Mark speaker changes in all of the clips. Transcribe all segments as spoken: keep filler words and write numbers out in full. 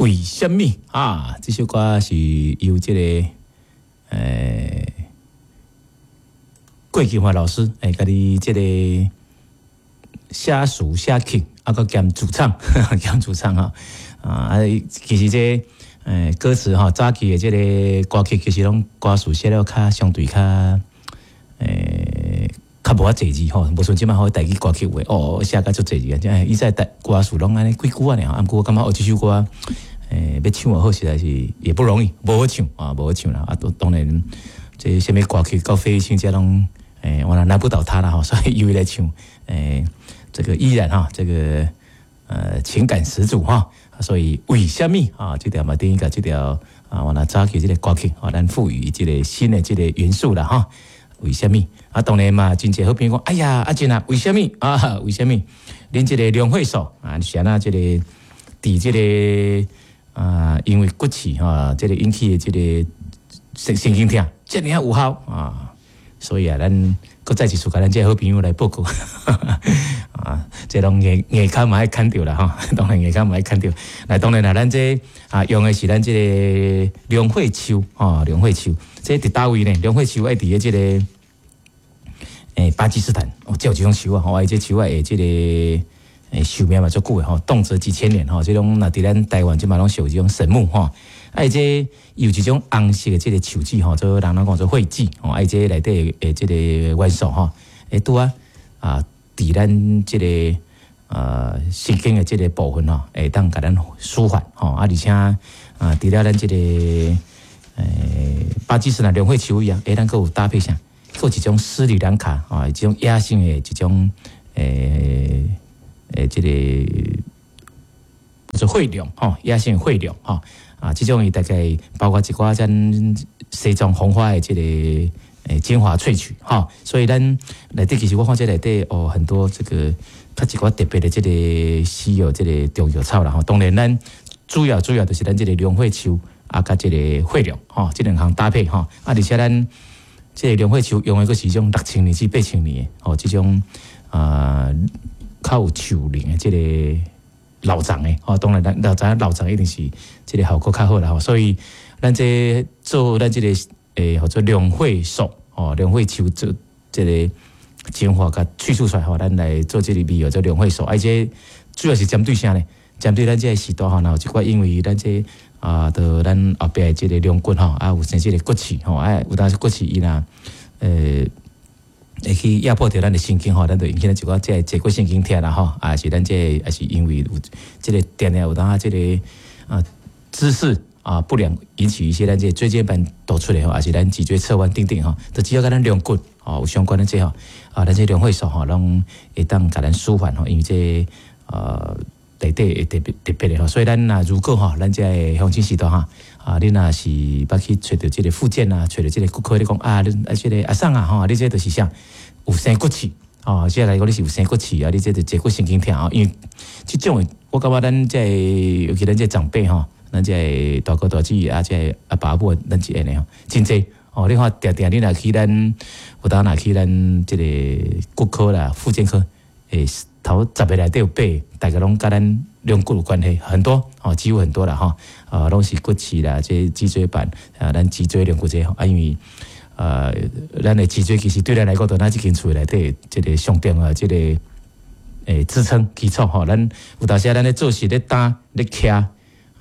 Speaker 1: 為啥物啊？這首歌是由這個呃郭金華老師欸，家己這個寫詞寫曲，啊，閣兼主唱，兼主唱哈啊！其實這欸歌詞吼，早期的這個歌曲其實攏歌詞寫了較相對較欸較無遐濟字吼，無像這擺好台語歌曲話哦，寫甲足濟字啊！以前台歌詞攏按呢幾句按呢吼，啊毋過我感覺哦，這首歌欸欲唱好實在是也不容易，無好唱啊，無好唱啦！啊，當然這啥物歌曲到費玉清這攏欸，我難不倒他啦吼，所以由伊來唱欸，這個依然哈，這個呃情感十足哈，所以為啥物啊？這條嘛等於共這條啊，我若早期這個歌曲啊，咱賦予這個新的這個元素啦哈。為啥物啊？當然嘛，真濟好朋友講，哎呀，阿珍啊，為啥物啊？為啥物？恁這個龍血素啊，是按怎這個佇這個啊，因為骨刺哈，這個引起的這個神神經痛，遮爾仔有效啊！所以啊，咱閣再一次共咱這個好朋友來報告啊，這攏硬硬崁嘛愛崁著啦吼，當然硬崁嘛愛崁著。來，當然啦，咱這啊用的是咱這個龍血樹吼，龍血樹，這佇佗位呢？龍血樹愛佇咧這個欸巴基斯坦哦，這有這種樹啊，吼，這樹仔的這個欸壽命嘛足久的吼，動輒幾千年吼，這種若佇咱台灣這嘛攏屬這種神木吼。啊，這有一種紅色的這個樹脂吼，做人攏講做血脂吼，啊，這內底的這個元素吼，會拄啊啊，佇咱這個呃神經的這個部分吼，會當共咱舒緩吼，啊，而且啊，除了咱這個欸巴基斯坦龍血樹以外，會當閣有搭配啥？閣有一種斯里蘭卡啊，一種野生的這種欸欸這個做血龍吼，野生血龍吼。啊，這種伊大概包括一寡咱西藏紅花的這個欸精華萃取吼，所以咱內底其實我看這內底哦很多這個較一寡特別的這個稀有這個中藥草啦吼。當然咱主要主要就是咱這個龍血樹啊，佮這個血龍吼，這兩項搭配吼。啊，而且咱這個龍血樹用的閣是這種六千年至八千年的吼，這種啊較有樹齡的這個老欉的吼，當然咱老欉老欉一定是這個效果較好啦吼，所以咱這做咱這個欸，號做龍血素吼，龍血樹做這個精華共萃取出來吼，咱來做這個味藥做龍血素，啊，這主要是針對啥呢？針對咱這個時代吼，若有一寡因為咱這啊，著咱後壁的這個龍骨吼，啊有生這個骨刺吼，啊有當時骨刺伊若呃會去壓迫著咱的神經吼，咱就引起咱一寡這個坐骨神經痛啦吼，啊是咱這個也是因為有這個定定有當這個啊姿勢啊不良引起一些咱這個椎間盤突出來吼，也是咱脊椎側彎等等吼，就只要佮咱龍骨吼有相關的這吼啊，咱這龍血素吼攏會當共咱舒緩吼，因為這呃內底會特別特別的吼，所以咱若如果吼，咱這個鄉親時代吼，啊，你若是捌去揣著這個復健啊，揣著這個骨科，你講啊，你啊這個阿桑啊吼，你這就是啥？有生骨刺哦，這來講你是有生骨刺啊，你這就坐骨神經痛啊，因為這種的我感覺咱這個尤其咱這長輩吼，咱這個大哥大姐啊，這個阿爸阿母，咱這個吼，真濟哦。你看定定你若去咱有當若去咱這個骨科啦、復健科，欸，頭十個內底有八個，大概攏佮咱龍骨有關係，很多哦，幾乎很多啦吼，啊，攏是骨刺啦，這脊椎板啊，咱脊椎龍骨這啊，因為呃，咱的脊椎其實對咱來講，就咱這間厝內底這個上重要這個欸支撐基礎吼。咱有當時咱咧做事咧擔咧徛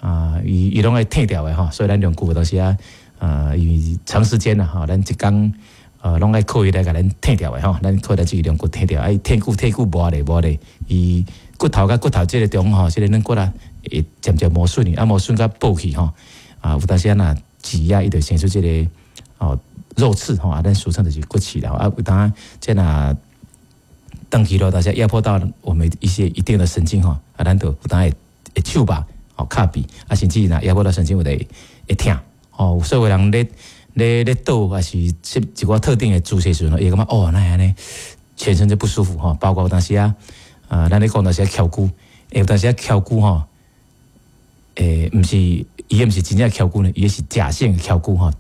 Speaker 1: 啊，伊伊攏愛退掉的吼，所以咱龍骨有當時啊，啊，因為長時間啦吼，咱一工呃攏愛靠伊來共咱退掉的吼，咱靠咱這個龍骨退掉，啊，伊退久退久磨咧磨咧，伊骨頭佮骨頭這個中吼，這個軟骨啊會漸漸磨損去，啊磨損甲薄去吼，啊有當時啊若擠壓伊就生出這個哦肉刺吼，啊咱俗稱就是骨刺啦，啊有當這若長期落，大家壓迫到我們一些一定的神經吼，啊咱就有當會會手肉吼跤臂，啊甚至若壓迫到神經有會會疼吼，所以有人咧咧咧倒，還是一寡特定的姿勢時陣，伊會感覺哦，哪會按呢，全身就不舒服吼，包括有當時啊，啊，咱咧講當時啊蹺龜，欸有當時啊蹺龜吼，欸，毋是伊毋是真正蹺龜呢，伊是假性蹺龜吼，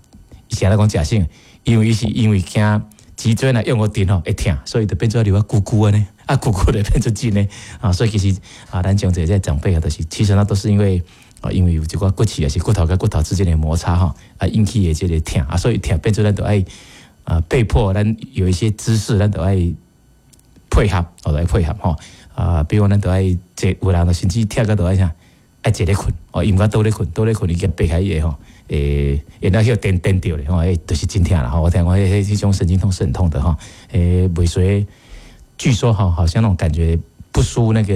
Speaker 1: 伊是按怎講假性？因為伊是因為驚脊椎若用予陣吼會疼，所以就變做留啊龜龜按呢，啊龜龜就變做真的啊，所以其實啊，咱講這些長輩啊，就是其實呢都是因為啊，因為有一寡骨刺，也是骨頭佮骨頭之間的摩擦吼，啊引起的這个疼啊，所以疼變做咱就愛啊被迫咱有一些姿勢，咱就愛配合，哦來配合吼啊，比如講咱就愛坐，有人甚至疼甲就愛啥，愛坐咧睏，哦，伊毋敢倒咧睏，倒咧睏伊驚爬起來吼，會會那去顛顛著咧吼，欸，就是真疼啦吼。我聽講彼彼種神經痛是很痛的吼，欸，袂輸，據說吼，好像那種感覺不輸那個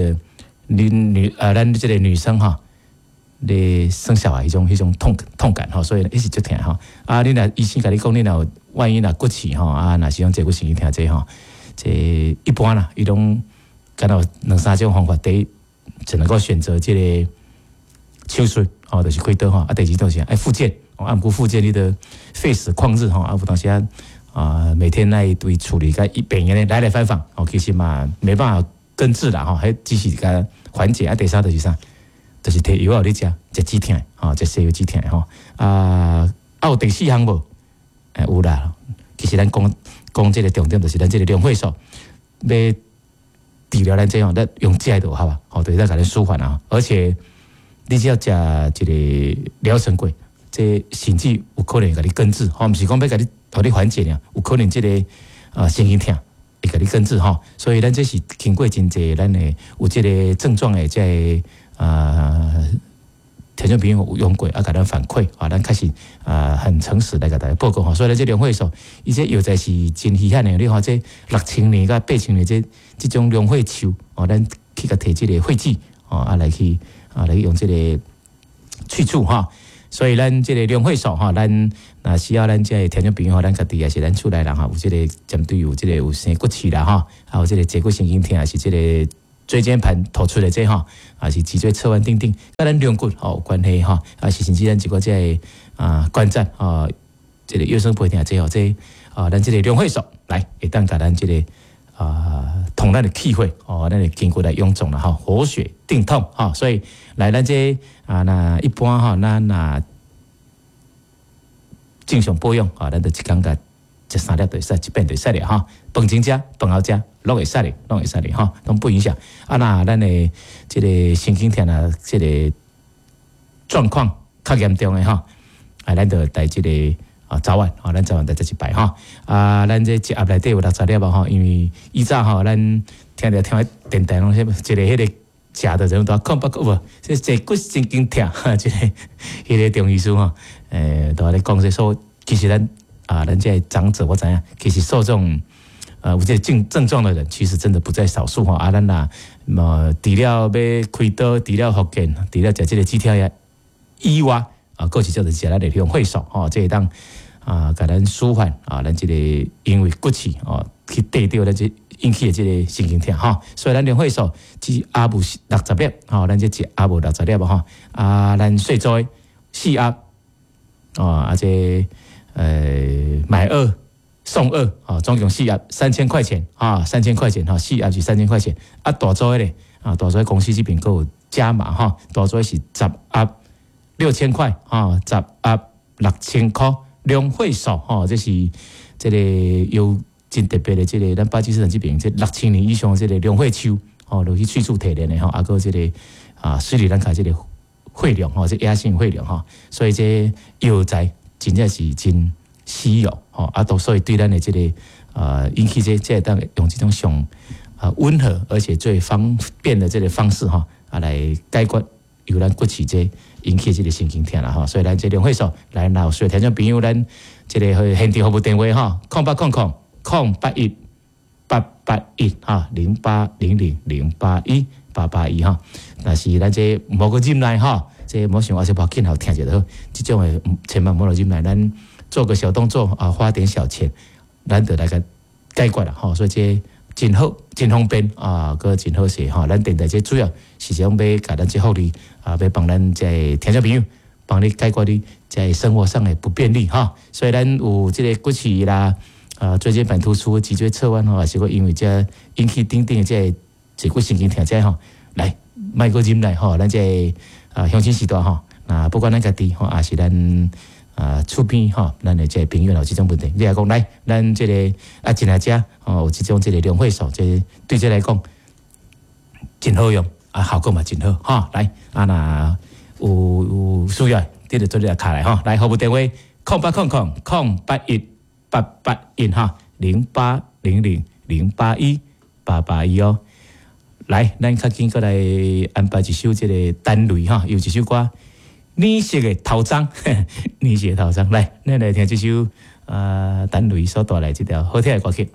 Speaker 1: 女女啊，咱這个女生哈，咧生小孩彼種彼種痛痛感吼，所以伊是足疼吼。啊，你若醫生共你講，你若有萬一若骨刺吼，啊，若是講坐骨神經疼這吼，這一般啦，伊攏敢若有兩三種方法，第一只能夠選擇這个手術吼，就是開刀吼。啊，第二就是愛復健，啊，毋過復健你著廢死曠日吼，啊，有當時啊，啊，每天愛對處理共病院來來返返，哦，其實嘛沒辦法根治啦吼，彼只是共緩解。啊，第三就是啥？就是提藥予你食，食止疼，吼，食西藥止疼吼。啊，啊有第四項無？欸，有啦。其實咱講講這个重點，就是咱這个龍血素欲治療咱這吼，咱用食的就好啊，吼，就是咱共你舒緩啊。而且你只要食一个療程過，這甚至有可能會共你根治，吼，毋是講欲共你予你緩解爾，有可能這个啊神經疼會共你根治吼。所以咱這是經過真濟咱的有這个症狀的這个啊，聽眾朋友有用過啊，共咱反饋啊，咱確實啊很誠實來共大家報告吼。所以咱這龍血素，伊這藥材是真稀罕的。你看這六千年佮八千年這這種龍血樹哦，咱去共提這个血劑哦，啊來去啊來用這个去除吼。所以咱這个龍血素吼，咱若需要咱這个聽眾朋友，咱家己也是咱厝內人吼，有這个針對有這个有生骨刺啦吼，啊有這个坐骨神經疼，也是這个椎間盤突出的這吼，也是脊椎側彎等等，佮咱龍骨吼有關係吼，啊是甚至咱一個這个啊關節啊，這个腰酸背疼這吼，這啊咱這个龍血素來會當共咱這个啊通咱的氣血哦，咱的筋骨來臃腫啦吼，活血定痛吼，所以來咱這啊若一般吼，咱若正常保養啊，咱就一工共食三粒就會使，一遍就會使了吼。飯前食，飯後食，攏會使的，攏會使的吼，攏不影響。啊，若咱的這个神經疼啊，這个狀況較嚴重的吼，啊，咱就帶這个啊早晚，吼，咱早晚來食一擺吼。啊，咱這一盒內底有六十粒吼，因為以早吼，咱聽著聽電台攏一個彼个食的人都空八個無，這坐骨神經疼，這个彼个中醫師吼，欸，都咧講說，說其實咱啊，咱這个長者我知影，其實受這種呃有這個症症狀的人，其實真的不在少數吼。啊，咱若麼除了欲開刀，除了復健，除了食這个止痛藥以外，啊，閣是叫做食咱的龍血素吼，這會當啊，共咱舒緩啊，咱這个因為骨刺哦去綴著咱這引起的這个神經疼吼，所以咱龍血素一盒有六十粒吼，咱這一盒有六十粒吼，啊，咱細組的四盒哦，啊這呃買二送二哦，總共四盒三千塊錢啊，三千塊錢吼，四盒是三千塊錢，啊大組的咧啊，大組的公司這邊閣有加碼吼，大組是十盒六千塊啊，十盒六千塊，龍血素吼，這是這个有真特別的這个咱巴基斯坦這邊這六千年以上的這个龍血樹吼，落去萃取提煉的吼，啊閣這个啊斯里蘭卡這个血龍吼，這野生血龍吼，所以這藥材真正是真稀有吼，啊都所以對咱的這个啊引起這這會當用這種上啊溫和而且最方便的這个方式吼，啊來解決由咱骨刺這引起這个神經疼啦吼，所以咱這龍血素來，若有需要聽眾朋友，咱這个現場服務電話吼，空八空空空八一八八一哈，零八零零零八一八八一哈，若是咱這無閣忍耐吼，這莫想啊，小無緊好聽就好，這種的千萬莫忍耐，咱做個小動作啊，花點小錢，咱就來共解決啦吼，所以這真好，真方便啊，閣真好勢吼。咱電台這主要是想欲共咱這福利啊，欲幫咱這聽眾朋友幫你解決你在生活上的不便利吼。所以咱有這个骨刺啦，啊，椎間盤突出、脊椎側彎吼，抑是講因為這引起等等的這個坐骨神經疼這吼，來莫閣忍耐吼，咱這啊鄉親序大吼，啊不管咱家己吼，抑是咱啊厝邊吼，咱的這个朋友有這種問題，你來講來，咱這个啊進來遮吼，有這種這个龍血素，這對這來講真好用啊，效果嘛真好吼。來啊，若有有需要，你就做咧敲來吼。來，服務電話空八空空空八一八八一哈，零八零零零八一八八一哦。來，咱較緊閣來安排一首這个陳雷哈，有一首歌《綠色的頭鬃》，綠色的頭鬃。來，咱來聽這首啊，陳雷所帶來這條好聽的歌曲。